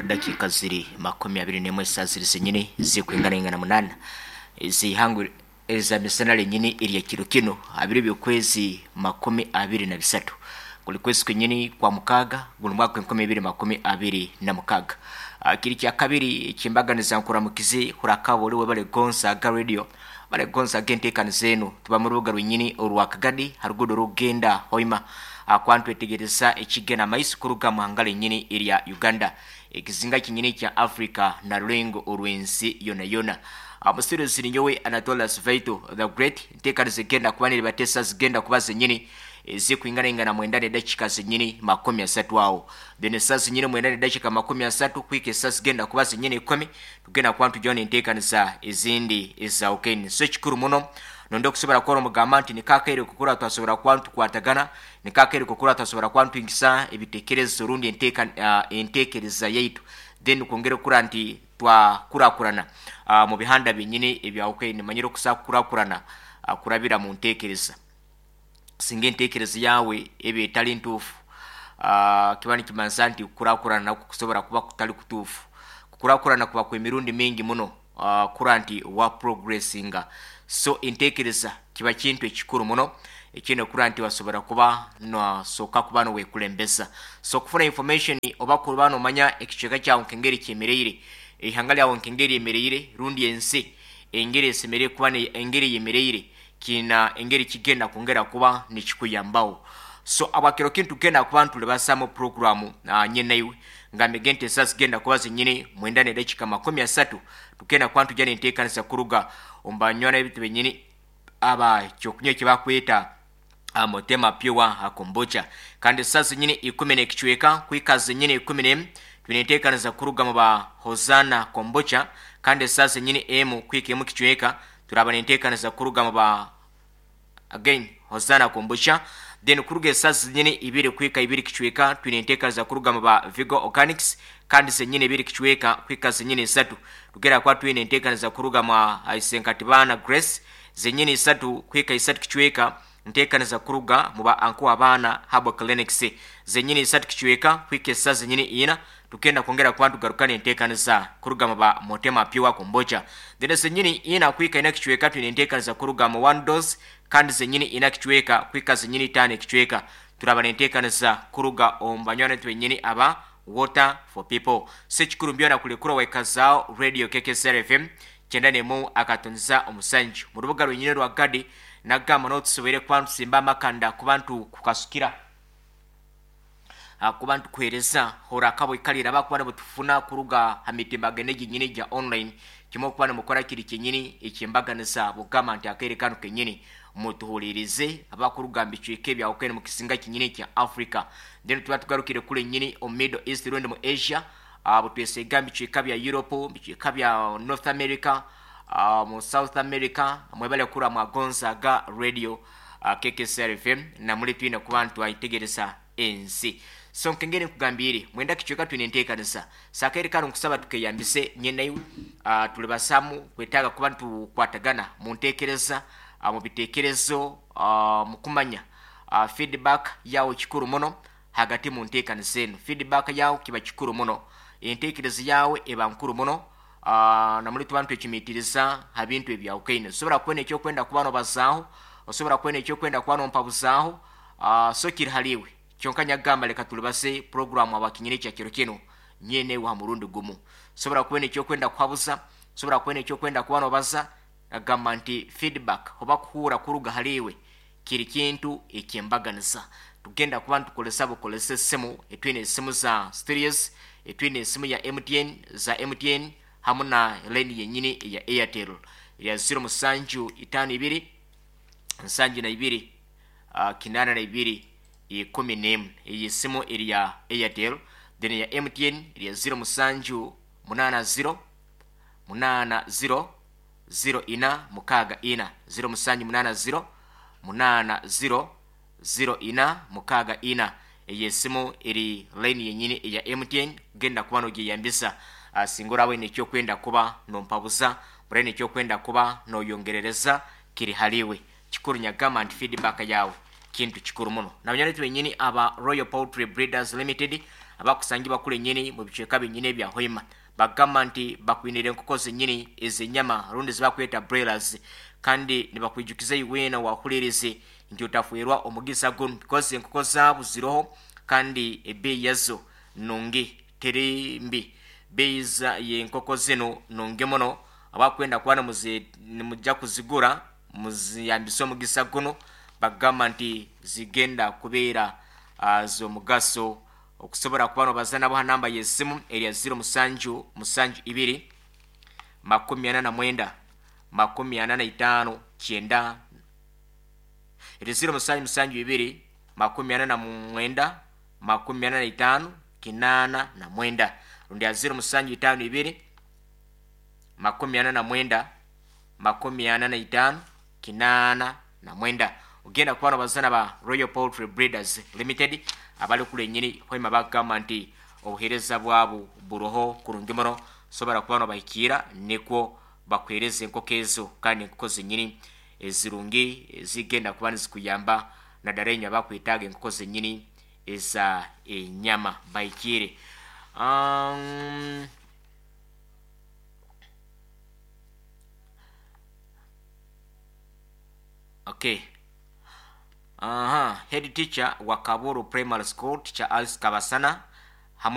Dakiika ziri 21 esaaha ziri zenyini zirikwinganaingana munaana ez'eihangwe eza misana ryenyini erya kiro kinu aha biro by'okwezi 23 guri kwezi kwenyini kwa mukaaga guri mwaka gw'enkumi ibiri 26. Kiri kyakabiri eky'embaganiza nkuramukize hurakaba ori webale kugonza aga radio webale kugonza aga enteekaniza enu tuba mu rubuga rwenyini orwa Kagadi ha ruguudo orurikugenda Hoima ahakuba nitwetegyereza ekigenda maiso kuruga muhanga ryenyini erya Uganda ekizinga kyenyini ekya Africa na rurengo orw'ensi yona yona. Omusiruzi ninyowe Anatolius Vaito the Great. Enteekaniza egenda kuba neribateesa zigenda kuba zenyini ezirikwinganaingana mwenda n'edakiika zenyini 30 aho. Then esaaha zenyini mwenda n'edakiika 30 kuhika esaaha zigenda kuba zenyini ikumi tugenda kuba nitugyaho n'enteekaniza ezindi ezahukene. So ekikuru muno Nonda okusobora kukora omugamba nti niko akaire kukura twasobora kuba nitukwatagana, niko akaire kukura twasobora kuba nituhingisa ebitekerezo rundi enteeka, entekereza yaitu then kwongera okukura nti twakurakurana mu bihanda byenyini ebyahukene. Manyire okusa kukurakurana kurabira mu ntekereza. Singa entekereza yawe eba etali ntuufu, kiba nikimanyisa nti kukurakurana nakwo kusobora kuba kutali kutuufu. Kukurakurana kuba kw'emirundi mingi muno. Kura nti wa progressinga. So entekereza kiba kintu ekikuru muno ekiine kura nti wasobora kuba nosoka kuba nowekulembeza. So kufuna information oba kuba nomanya ekicweka kyawe nkengeri kyemereire, eihanga lyawe nkengeri ryemereire rundi ensi engeri esemereire kuba engeri eyemereire kiina engeri kigenda kwongera kuba nikikuyambaho. So abwakiro kinu tugenda kuba nitulibazamu puroguramu nye naiwe. Ngambege nti esaaha zigenda kuba zenyini mwenda n'edakiika 30 tugenda kuba nitugya n'enteekanisa kuruga omu banywani baitu benyini aba ky'okunywa eki bakweta Motema Pure Kombucha. Kandi esaaha zenyini ikumi n'ekicweka kuhika zenyini 11 twine enteekanisa kuruga mu ba Hosanna Kombucha. Kandi esaaha zenyini emu kuhika emu kicweka turaba n'enteekanisa kuruga mu ba Again Hosanna Kombucha. Then kuruga esaaha zenyini ibiri kuhika ibiri kicweka twine enteekaniza kuruga mu ba Vigo Organics kandi zenyini ibiri kicweka kuhika zenyini isatu tugenda kuba twine enteekaniza kuruga mwa Isenkatibaana Grace zenyini isatu kuhika isatu kicweka nteekaniza kuruga mu ba Anko Abaana Herbal Clinics zenyini isatu kicweka kuhika esaaha zenyini ina tugenda kwongera kuba nitugaruka n'enteekaniza kuruga mu ba Motema Pure Kombucha. Then zenyini ina kuhika ina kicweka twine enteekaniza kuruga mu One Dose kandi zenyini ina kicweka kuhika zenyini itaano ekicweka turaba n'enteekaniza kuruga omu banywani baitu benyini aba Water for People. So ekikuru byona kurekura waikazaaho Radio KKSR FM 91.7 mu rubuga rwenyini rwa Gadi nagamba n'obu tusoboire kuba nitusimba amakanda kuba nitukukasukira ahakuba nitukuheereza hora akabo ikalira abakuba nibutufuna kuruga ha mitimbagano egi nyini egya online kimwe okuba nimukora kiri kyenyini eky'embaganiza bugamba nti akaire kanu kenyini mutuhuliirize abakuruga mu bicweka ebyahukene mu kizinga kyenyini ekya Africa then tuba tugarukire kule nyini omu Middle East rundi mu Asia butwesega mu bicweka bya Europe, mu bicweka bya North America, mu South America mwebale kura mwagonzaga radio KKSR FM namuri twine kuba nitwayetegereza ensi. So nkengeri nkugambiire mwenda kicweka twine enteekaniza. So akaire kanu nkusaba tukeyambise nye naiwe tulibasamu kwetaaga kuba nitukwatagana mu nteekereza, mu biteekerezo, mu kumanya feedback yawe kikuru muno hagati mu nteekaniza enu. Feedback yawe kiba kikuru muno, enteekereza yawe eba nkuru muno namuri tuba nitwecumiitiriza ha bintu ebyahukaine. Osobora kuba n'ekyokwenda kuba nobazaaho, osobora kuba n'ekyokwenda kuba nompabuzaaho, so kiri haliiwe. Kyonka nyakugamba leka tulibaze puroguramu abakinyina ekya kiro kinu nyine iwe ha murundi gumu. Osobora kuba n'ekyokwenda kuhabuza, osobora kuba n'ekyokwenda kuba nobaza, agamba nti feedback oba kuhuura kuruga hali iwe kiri kintu eky'embaganiza. Tugenda kuba nitukozesa bukozesa esimu, etwine esimu za studios, etwine esimu ya MTN, za MTN hamu na line yenyini eya Airtel ya 0752 72 82 11. Eyo esimu eri ya Airtel, then eya MTN eri ya 07 80 80 04 64 07 80 80 04 64. Eyo esimu eri line yenyini eya MTN genda kuba nogyeyambisa singa oraba oine ekyokwenda kuba nompabuza, oraba oine ekyokwenda kuba noyongerereza kiri haliiwe. Kikuru nyagamba nti feedback yawe kintu kikuru muno. Na banywani baitu benyini aba Royal Poultry Breeders Limited Abakusangibwa kule nyini mu bicweka binyini ebya Hoima bagamba nti bakwinire enkoko zenyini ez'enyama rundi zibakweta broilers kandi nibakwijukiza iweena wahulirize nti otafwerwa omugisa gunu because enkoko zaabo ziroho kandi ebeeyi yazo nungi teri mbi. Beeyi y'enkoko zinu nungi muno abakwenda kuba nimujja kuzigura muziyambise omugisa gunu bagamba nti zigenda kubeera z'omugaso okusobora kuba nobaza nabo ha namba y'esimu erya 07 72 49 45 9 eri 07 72 49 45 89 rundi ya 07 52 49 45 89 ogenda kuba nobazana ba Royal Poultry Breeders Limited abali kule nyini hoima bagamba nti obuheereza bwabo buroho kurungi muno sobora kuba nobahikiira nikwo bakuheereza enkoko ezo kandi enkoko zenyini ezirungi ezigenda kuba nizikuyamba naddala enywe abakwetaaga enkoko zenyini eza enyama bahikiire. Um, okay. Aha, head teacher wa Kaburu Primary School, Teacher Alice Kabasana.